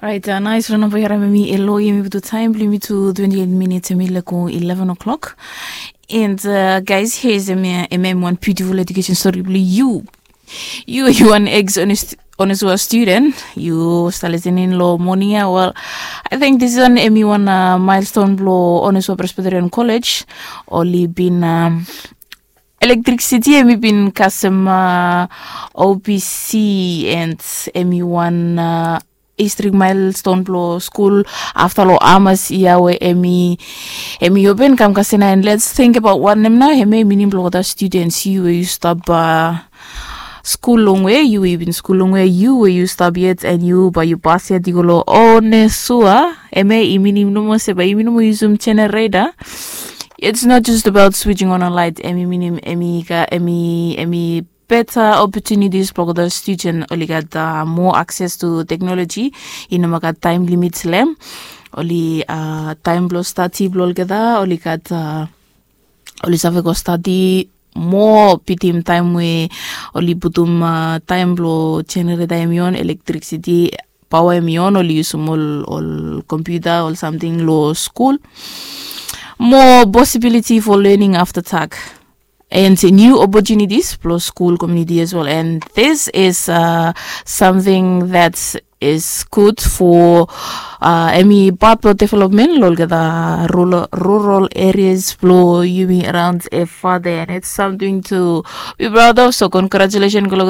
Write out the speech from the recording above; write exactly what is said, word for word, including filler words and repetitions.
Orait, nais rona bo i harim em i elo, em i butu taim bilong yumi tu twenty eight minutes, em i leko eleven o'clock. And uh, guys, here's em, em em one beautiful education story bilong you. You, you an ex Onesua student, you start listening lo morning ya. Well, I think this is an em i one uh, milestone blo Onesua Presbyterian College. Oli bin um, electricity em i bin kasem uh, O P C and em i one uh, historic milestone blo skul afta lo amas ia we em i em i open kam kasem. And let's think about wanem na em i minim blo olgeta students, yu we yu stap uh, skul longwe, yu we yu bin skul longwe, yu we yu stap yet and yu bai yu pas yet i go lo Onesua. Em i minim nomo se bai yumi nomo yusum generator. It's not just about switching on a light. Em i minim em i ka em i em i better opportunities blo olgeta student, oli gat uh, more access to technology. I no moa gat time limit long em. Oli uh, time blo study blo olgeta, oli gat uh, oli save go study more bitim taim we oli putum uh, taim blo generator em i on, electricity power em i on, oli yusum ol ol computer ol samting lo skul. More possibility for learning after tak and new opportunities blo school community as well. And this is uh, something that is good for uh, em i part blo development lo olgeta rural, rural areas blo yumi around e father, and it's something to be proud of. So congratulations ko olgeta